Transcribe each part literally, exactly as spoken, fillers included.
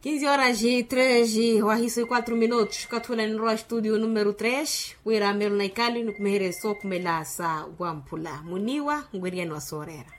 Kinzi horas três, wahiso e quatro minutos kathula ninrowa studio numero três, wira melo na ikali nikumeherye sookhumela sa wamphula muniwa. Ngwiriyani wa sooreera.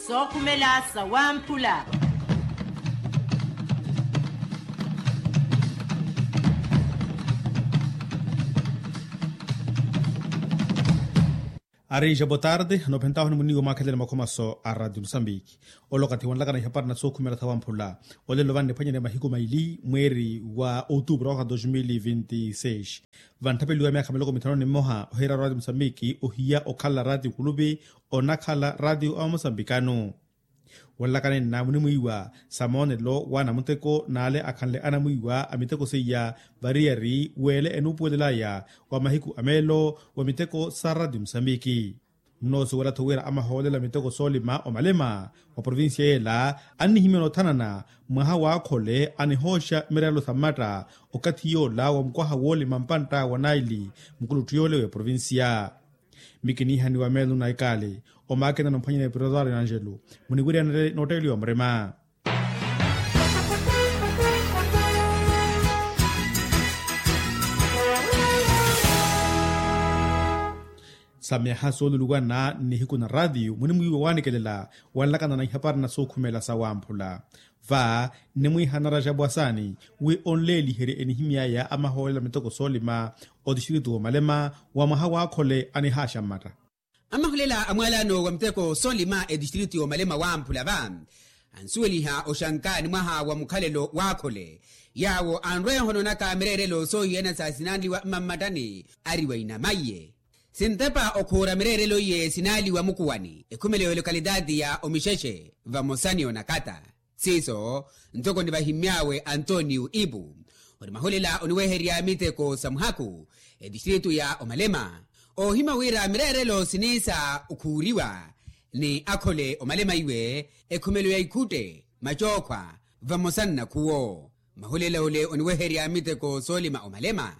Sookhumela sa wamphula. Arinja botarde nophentahoni muniwa mwakhelele makhomaso a radio musambiki. Olokathi wanlakana ihapari na sookhumela sa wamphula. Olelo vanniphwanyerya mahiku maili mweeri wa outubra waka dos mil vinti seis. Vantthapeliwa myaakha miloko mithanu ni mmoha ohiira radio musambiki ohiya okhala radio khulupi onakhala radio a musambikano. Wanlakana enna munimwiiwa sa moonelo w'anamuteko n'ale akhanle anamwiiwa a miteko seiya variyari w'ele enuupuwelelaya wa mahiku a meelo wa miteko sa radio musambiki. Munoosuwela-tho wira amahoolela miteko soolima omalema wa provincia y'ela annihimya nothanana mwaha w'akhole anihooxa mireerelo sa mmatta okathi yoola wa mukwaha woolima mpantta wa naili mukulutthu yoole w'eprovincia. Mikiniihaniwa meelo na ikaali omaakina nomphwanyana epirotario n'anjelu muniwiryanele nootteeliwa murima. Sa myaha sooluluwana nnihiku na raatiyo munimwiiwa waanikelela wanlakana na ihapari na sookhumela sa wamphula. Va nnimwiiha naraja bwasani wi onleeliherye enihimy'aya amahoolela miteko soolima otistritu w'omalema wa mwaha w'akhole anihaaxa mmatta. Amahulela a mwalano wa miteko soolima etistritu y'omalema wamphula va ansuweliha oxanka ni mwaha wa mukhalelo w'akhole yaawo anrweeho noonaka mireerelo soohiyana sa sinanliwa mmammattani ari wa inamaiye. Sintepa okhuura mireerelo iye sinaaliwa mukuwani ekhumelo y'olokalitaati ya omixexe vamosa ni onakata. Siiso ntoko nivahimmy'awe antonio ipu onimahulela oniweherya miteko sa muhaku etistritu ya omalema. Oohimya wira mireerelo siniisa okhuuriwa ni akhole omalema iwe ekhumelo ya ikhutte macookhwa vamosa nnakhuwo. Mahulela ole oniweherya miteko soolima omalema.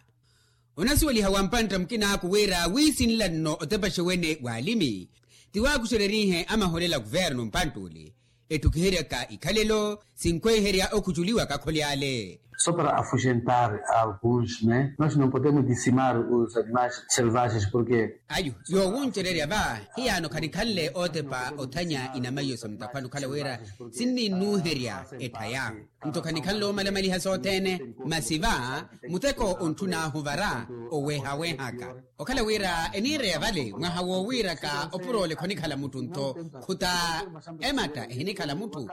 Onasuweliha wa mpantta mukinaaku wira wiisinla nno otepaxe wene w'alimi ti waakuxererihe amaholela kuvernu mpantta ole etthu kiheryaka ikhalelo sinkhweiherya okhuculiwaka akholy'ale. Sopara afuxentari alguns ne noti nompotemo disimari usa mas selvaxes porke ayu yoowuncererya va hiyaano khanikhanle ootepa othanya inamaiyo sa mutakhwani okhala wira sinninnuuherya etthaya. Nto khanikhanle oomalamaliha sothene masi va muteko ontthun'ahu vara oweehawehaka okhala wira eniireya vale mwaha wowiiraka opur'ole khonikhala mutthu ntho khuta ematta ehinikhala mutthu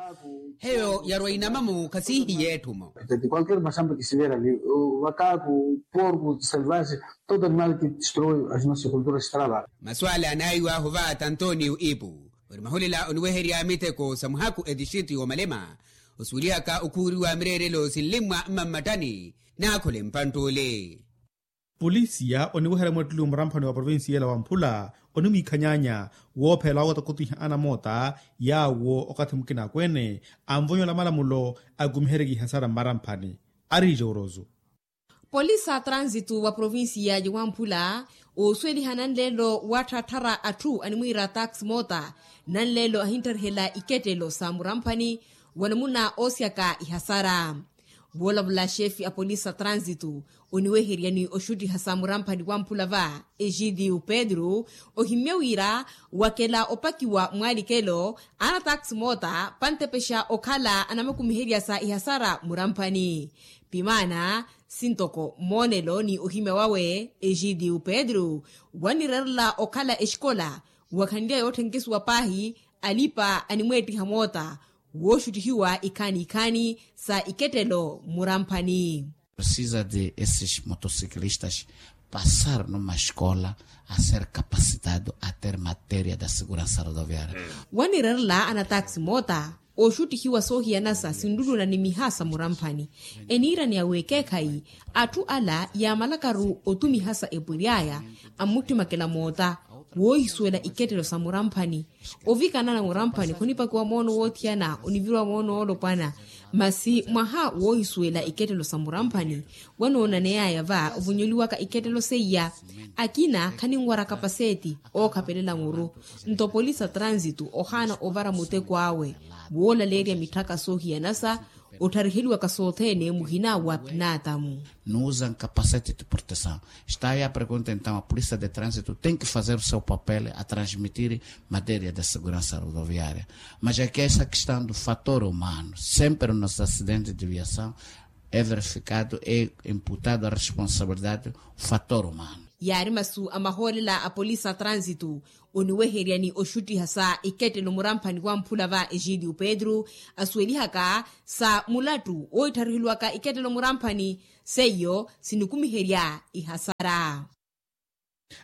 heyo yarwa inamamu khasihiye etthu-mo. Masu ale anaiw'ahu va tantonio ipu ori mahulela oniweherya miteko sa muhaku etistritu y'omalema osuwelihaka okhuuriwa mireerelo sinlimmwa mmammattani n'akhole mpantt'ole. Polisiya oniweherya mwettulu muramphani wa provincia ela wa mphula onimwiikhanyaanya woopheela wawotokotiha anamoota yaawo okathi mukina akweene anvonyola malamulo akumiheryeke ihasara mmaramphani. Ari joroso. Polisi a transitu wa provincia ya wamphula oosweliha nanleelo watthatthara atthu animwiira taxi moota nanleelo ahinttarihela ikettelo sa muramphani wanamuna oosyaka ihasara. Woolavula xefi a polisi a transitu oniweheryani oxuttiha sa muramphani wamphula va egidio pedro ohimmya wira wakela opakiwa mwaalikelo ana taxi moota pantepexa okhala anamakumiherya sa ihasara muramphani. Pimaana sintoko moonelo ni ohimya wawe egidio pedro wanirerela okhala exikola wakhanliya yootthenkesuwa paahi alipa animweettiha moota wooxuttihiwa ikhaani ikhaani sa ikettelo muramphani. Precisa de esses motociclistas passar numa escola a ser capacitado a ter matéria da segurança rodoviária. Wanirerela ana taxi moota ooxuttihiwa soohiyana sa sinluluna ni miha sa muramphani eniiraneya w'ekeekhayi atthu ala yaamalakaru otumiha sa epwery'aya ammuttimakela moota Woohisuwela ikettelo sa muramphani. Ovikanana muramphani khunipakiwa moono woothiyana oniviriwa moono woolopwana. Masi mwaha woohisuwela ikettelo sa muramphani, wanoonaneyaya va ovunyeliwaka ikettelo seiya. Akina khaninwara kapaseeti ookhapelela muru. Nto polisi a transitu ohaana ovara muteko awe woolaleerya mitthaka soohiyanasa othariheliwaka sothene muhina wa pinaatamu. Nuuza nkapasete ti protesaw. Esta ya pregunta entaw a polisa de transitu tenki fazer o seu papel a transmitiri materia de seguransa rodoviaria. Mas eke esa kistandu fator humano sempre nos asidente de viasaw e verifikadu e imputadu a responsabilidade fator humano. Yaari masu a mahoolela a polisi a transitu oniweheryani oxuttiha sa ikettelo muramphani wa mphula va egilio pedro asuwelihaka sa mulattu oitthariheliwaka ikettelo muramphani seiyo sinikumiherya ihasara.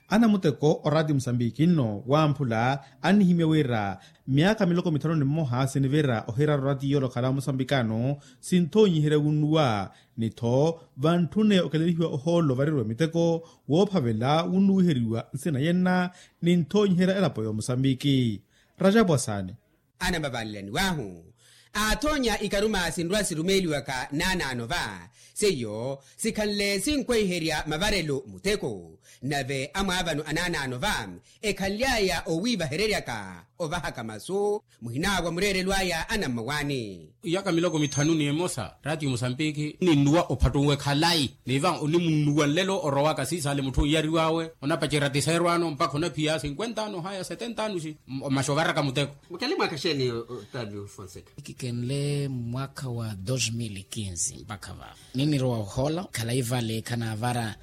Anamuteko oraati musambiki nno wamphula annihimya wira myaakha miloko mithanu ni mmoha sinivira ohirara oraati yoola okhala musambikano sinthonyiherya wunnuwa. Ni tho vantthune okelelihiwa ohoolo variriwa miteko woophavela wunnuwiheriwa nsina yenna ni nthoonyiherya elapo ya omusambiki. Rajapu asaani. Anamavanlelani wahu aathoonya ikaruma sinrwa sirumeeliwaka naanaano va seiyo sikhanle sinkwehiherya mavarelo muteko. Nave amwaavano anaanaano va ekhanly'aya owiivahereryaka ovahaka masu muhina wa mureerelo aya anammawaani. Iyaka miloko mithanu ni emosa raatiyo musambiki ninnuwa ophattunwe khalayi ni va onimunnuwa nlelo orowaka siisale mutthu onyariw'awe onapacerya tiseerwano mpakha onaphiya sinkwenta ano haya setenta ano xi. Maxovaraka muteko. Mukhale mwaka xeeni otavio fonseca. Kikenle mwaka wa dos mil quinze mpakha va ninirowa ohoola khalayi vale khanaavara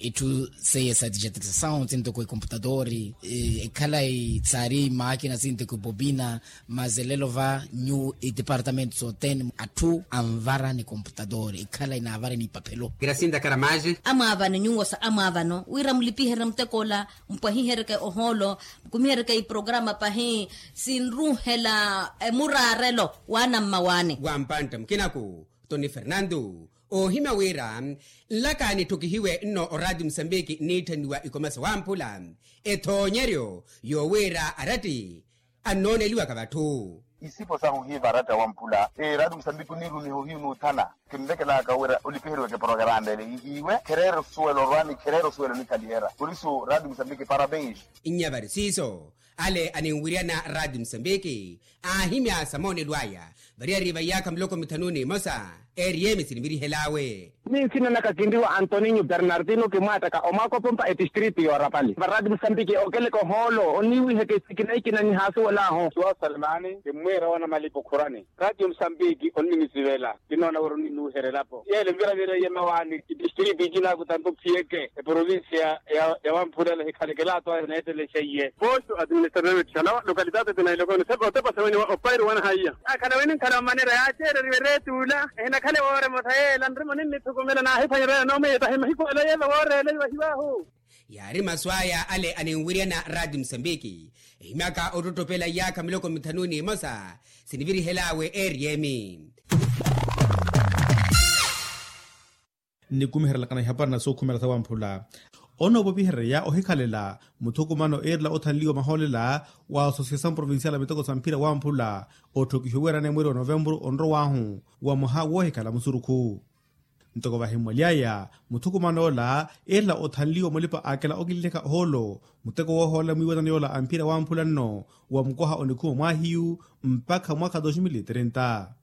itthu seiye sa tixetikisasawu tsi ntoko ikomputatori. Ekhalayi tsaari maakina tsi ntoko ibobina. Mazelelo va nyu idepartamentu sothene atthu anvara ni komputatori ekhalayi naavara ni ipaphelo. Kirasinta karamaji. Amwaavano nyuwo sa amwaavano wira mulipiherye mutekoola mpwahiheryeke ohoolo mukumiheryeke iprograma pahi sinruhela emuraarelo waanammawaani. Wampantta mukinaku toni fernandu oohimya wira nlaka nittukihiwe nno oraati musambiki nniitthaniwa ikoma sa wamphula ethoonyeryo yoowira aratti annooneliwaka vatthu. Isipo sahu hiiva aratta wamphula eraati musambiki oniirumiha ohiyu nuuthana kinvekelaka wira olipiheriweke porokarama ele iwe khereera osuwelo orwani khereera osuwelo onikhaliherya korisu raati musambiki parabens. Nnyavari siiso ale aninwiryana raati musambiki aahimya sa moonelo aya variyari va iyaakha miloko mithanu n'imosa. Eri emi sinivirihel'awe. Minsina naka kinriwa antoninyo bernardino kimwaattaka omwaakopompa etistritu yoorapali varati musambiki okeleka ohoolo oniiwiheke sikina ikina nihaasuwel'ahu. Suwa salimani kimmwiira woona malipo khurani. Ratiyo musambiki onnimisivela kinoona wira oninuuherya elapo yeele nvira nireye mawaani kitistritu ikina kutanto phiyeke eprovincia ya wamphulelo hikhalekela atwayo neetelexeiye. Posto administrativo de tixalawa lokalitato tinahilokoni sepe otepa seweniwa opairi wanahaiya. Akhala wini nkhala omanera yaaceereriwe reetuula ehinakhale wooremotha yeela nrimo ninnithukumela naahiphwanyerya yanoomeyetahi mahiku ela yeela wooreela iwahiwaahu. Yaari masu aya ale aninwiryana raati musambiki ehimyaka ottottopela iyaakha miloko mithanu n'imosa sinivirihel'awe. Eri emi nnikumiherelakana ihapari na sookhumela sa wamphula. Onoopopihererya ohikhalela muthukumano eerela othanliwa mahoolela wa asosiasamu provincial a miteko sa mphira wamphula otthokihiwe weerane mweeri wa novempuru onrow'ahu wa mwaha woohikhala musurukhu. Ntoko vahimmwaly'aya muthukuman'ola eerela othanliwa mulipa aakela okinleka ohoolo muteko woohoolela mwiiwanano yoola a mphira wamphula nno wa mukoha onikhuma mwaahiyu mpakha mwakha dos mil e trinta.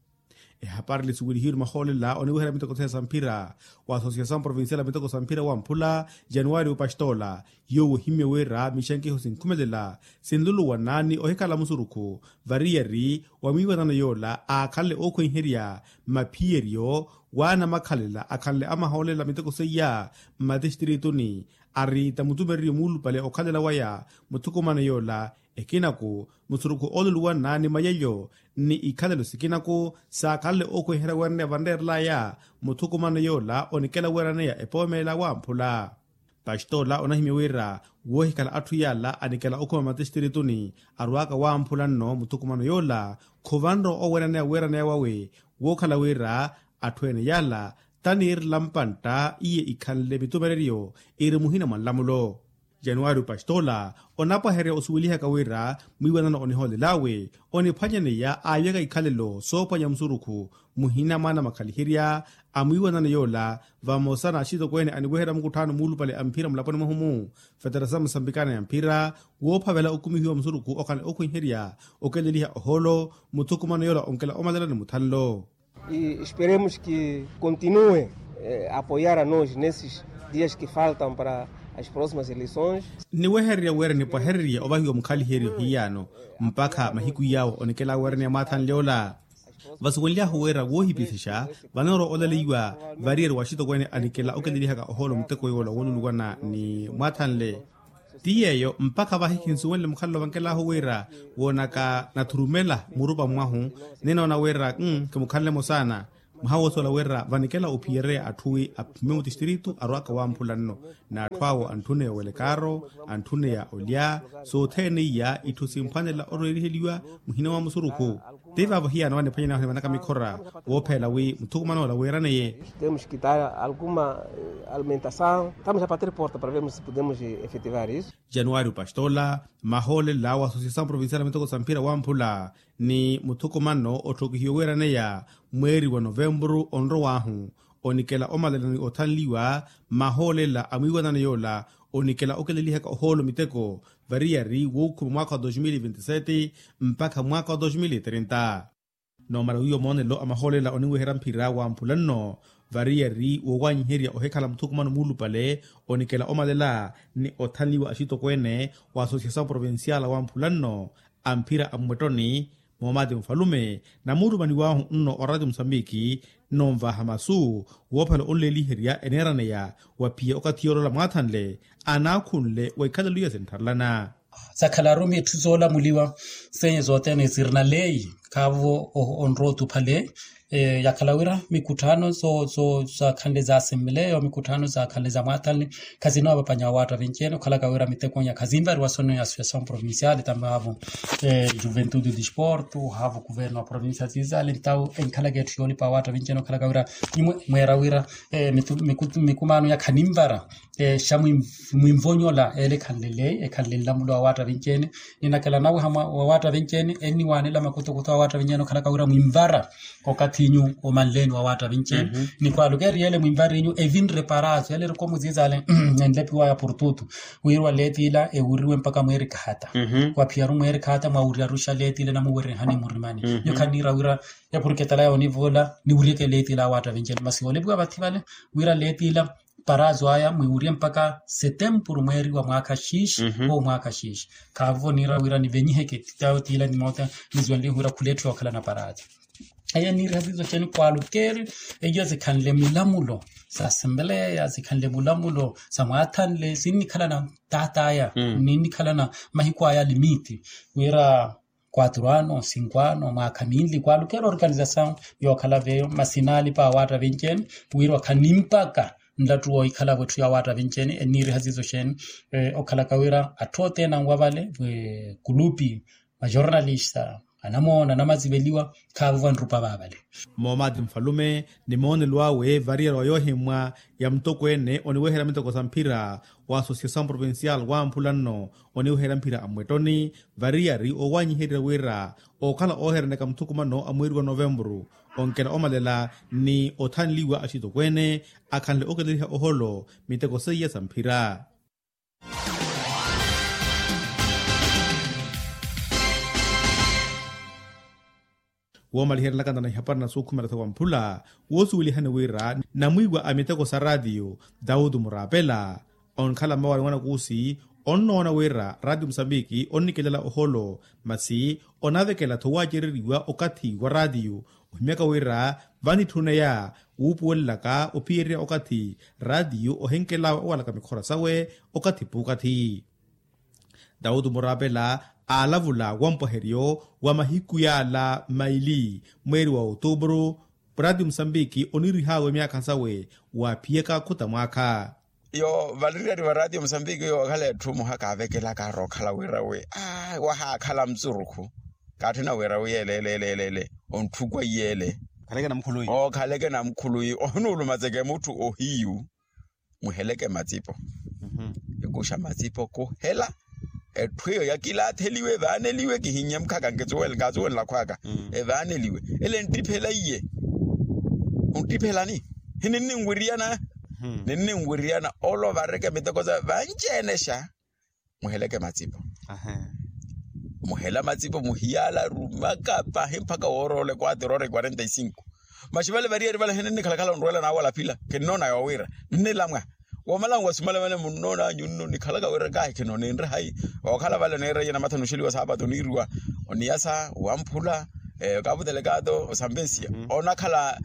Ehapari nisuwelihiwe ni mahoolela oniweherya miteko seya sa mphira wa asosiasamu provincial a miteko sa mphira wamphula januwari opastoola yoowo ohimye wira mixankiho sinkhumelela sinluluwana ni ohikhala musurukhu variyari wa mwiiwanano yoola aakhanle ookhwenherya mmaphiyeryo w'anamakhalela akhanle amahoolela miteko seiya mmatistrituni. Ari tamutumereryo muulupale okhalela waya muthukumano yoola ekinaku musurukhu ooluluwana ni mayalyo ni ikhalelo sikinaku saakhanle ookhwenherya weeraneya vanreerel'aya muthukumano yoola onikela weeraneya epoomelela wamphula. Pastoola onahimya wira woohikhala atthu yaala anikela okhuma mmatistrituni arwaaka wamphula nno muthukumano yoola khuvanre oweeraneya weeraneya wawe wookhala wira atthu ene yaala taniirela mpantta iye ikhanle mitumereryo iri muhina mwa nlamulo. Januwari pastola onapwaherya osuwelihaka wira mwiiwanano onihoolel'awe oniphwanyaniya aayaka ikhalelo soophwanya musurukhu muhina mwaana makhaliherya a mwiiwanano yoola vamosa na axitokweene aniweherya mukutthano muulupale a mphira mulaponi mwahu-mu feterasao musambikana ya mphira woophavela okumihiwa musurukhu okhala okhwiherya okeleliha ohoolo muthukumano yoola onkela omalela ni muthanlo. Esperemos que continue a apoyar a nos nesses dias que faltam para as próximas eleições. Nniwehererya wira nipwahererye ovahiwa mukhaliheryo hiyano mpakha mahiku yawo onikela wira ni amwaathanle ola vasuwenly'ahu wira woohipisexa vanoorowa olaleiwa variyari wa axitokweene anikela okelelihaka ohoolo muteko yoola wooluluwana ni mwaathanle. Ti yeeyo mpakha vahi khinsuwenle mukhalelo vankel'ahu wira woonaka nathurumela murupa mwahu ninoona wira khimukhanle-mo saana. Mwaha woosola wira vanikela ophiyereya atthu wi aphume mutistritu arwaka wamphula nno n'atthu awo antthuneya owelekaaro antthuneya olya sothene iya itthu simphwanela orweeriheliwa muhina wa musurukhu. Ti vaavo hiyano aniphwanyaniyahu nivanaka mikhora woopheela wi muthukuman'ola weeraneye. Temos que dar alguma alimentação estamos a bater porta para vermos se podemos efetivar isso. Januwari pastola mahoolela wa asosiasawu provincial a miteko sa mphira wamphula ni muthukumano otthokihiwe weeraneya mweeri wa novempuru onrow'ahu onikela omalela ni othanliwa mahoolela a mwiiwanano yoola onikela okelelihaka ohoolo miteko variyari wookhuma mwaakha wa dos mil e vinte sete mpakha mwaakha wa dos mil e trinta. Noomala wiiwa moonelo a mahoolela oniweherya mphira wamphula nno variyari woowanyiherya ohikhala muthukumano muulupale onikela omalela ni othanliwa axitokweene wa asosiasawu provincial wamphula nno a mphira a mmwettoni moomati mufalume namuurumaniw'ahu nno oraati musambiki nnoonvaha masu woophela onleeliherya eneeraneya wa phiya okathi yoolola mwaathanle anaakhunle wa ikhalelo iya sintharelana. Sakhalaru miitthu zoolamuliwa seiye zothene sirina leyi khaavo onrowa otupha leyi yakhala wira mikutthano zakhanle za asemeleya mikutthano zakhanle za mwaathanle khazinoowapapanya wawaatta vinci-ene okhalaka wira mitekonya khazinvariwa sono ya associasawu provincial tambaavo juventude disporto haavo kuverno wa provincia zizale ntawo enkhalaka etthu yoolipa wawaatta vinci-ene okhalaka wira mweera wira mikumaano ya khaninvara xa mwinvonyola ele ekhanle leyi ekhanle nlamulo wawaatta vinci-ene. Ninakela naweha wawaatta vinci-ene enniwaanela makutukutu wawaatta vinci-ene okhalaka wira mwinvara okathinyu omanleeni wawaatta vinci-ene. Ni kwaalukeeri yeele mwinvarinyu evinre parazo ele erikomu zizale enlepiwaya portutu wirwa leetila ewuriwe mpaka mweeri kaata waphiyaru mweeri kaata mwawuryaruxa leetila namuwererihani murimani. Nyo khanniira wira epuruketala ya onivula niwuryeke leetila awaatta vinci-ene masi yoolepiwa vathi vale wira leetila parazo aya mwiwurye mpaka setempuru mweeri wa mwaakha xiixi. Owo mwaakha xiixi khaavo niira wira nivenyiheke titawo tiila nimoota niziwenlihe wira khula etthu yookhalana parazo. Eye niiriha ziizo xeeni kwaalukeeri eyo zikhanle milamulo sa assembeleya zikhanle mulamulo sa mwaathanle sinnikhalana taataya ninnikhalana mahiku aya limiti wira kwatru ano sinku ano mwaakha minli kwaalukeera organizasawu yookhala veyo masi naalipa awaatta vinci-ene wirwa khanimpaka nlattu woohikhalavo etthu ya awaatta vinci-ene enniiriha ziizo xeeni. Okhalaka wira atthu othene anwa vale kulupi majornalista anamoona anamaziveliwa khaavo vanrupa vaavale. Moomati mufalume ni moonelo awe variyari wa yoohimmwa ya mutokweene oniweherya miteko sa mphira wa associasawu provincial wamphula nno oniweherya mphira a mmwettoni variyari oowanyiherya wira ookhala ooheeranaka muthukumano a mweeri wa novempuru onkela omalela ni othanliwa axitokweene akhanle okeleliha ohoolo miteko seiya sa mphira. Woomaliherya nlakantana ihapara na suukhumelatha wa mphula woosuwelihani wira namwiiwa a miteko sa raatiyo dautu muraapela onkhala mmawaani wa nakuusi onnoona wira raatiyo musambiki onnikelela ohoolo masi onavekela-tho waacereriwa okathi wa raatiyo ohimyaka wira vanitthuneya wuupuwelelaka ophiyererya okathi raatiyo ohenkel'awe owalaka mikhora sawe okathi p'ukathi. Dautu muraapela aalavula wampwaheryo wa mahiku yaala maili mweeri wa otuupuru raatiyo musambiki oniirih'awe myaakha sawe waaphiyaka khuta mwaakha. Yo valiriyari va raatiyo musambiki yo okhala etthu muha kaavekelaka arookhala wira wi wahaakhala mutsurukhu kaatthina wira wi ele ele ele ele ontthukwaiye ele. Okhaleke namukhuluyi ohinuulumatseke mutthu ohiyu muheleke matsipo. Kuxa matsipo kuhela. Etthu eyo yakilaatheliwe evaaneliwe kihinnya mkhaka nkatsuwenla khwaka. Evaaneliwe ele nttiphela iye. Onttiphelani? Hininninwiriyana. Ninninwiriyana olo vareke miteko sa vanci-enexa. Muheleke matsipo. Muhela matsipo muhiyaala arumaka pahi mpaka wooroole quatro hora quarenta y cinco. Maxi vale variyari vale hininnikhalakhala onrwela naawala phila. Kinnoona yoowira ninnilamwa. Womala nwasumala vale munnoona anyu nno nikhalaka wira kahi khinooninre hayi. Ookhala vale oneera iye namatha nuxeliwa saapato oniiriwa oniyasa wamphula. Okavutelekato osampensiya onakhala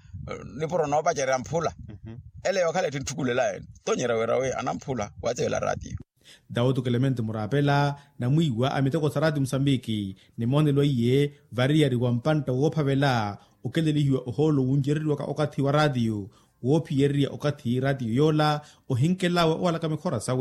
nipuro noopacerya mphula. Ele yookhala etthu ntthukulela ene tonyerya wira wi anamphula watsevela raatiyo. Dawutu clemente muraapela namwiiwa a miteko sa raatiyo musambiki nimoonelo iye variyari wa mpantta woophavela okelelihiwa ohoolo wuncereriwaka okathi wa raatiyo. Woophiyererya okathi raatiyo yoola ohinkelawe owalaka mikhora sawe.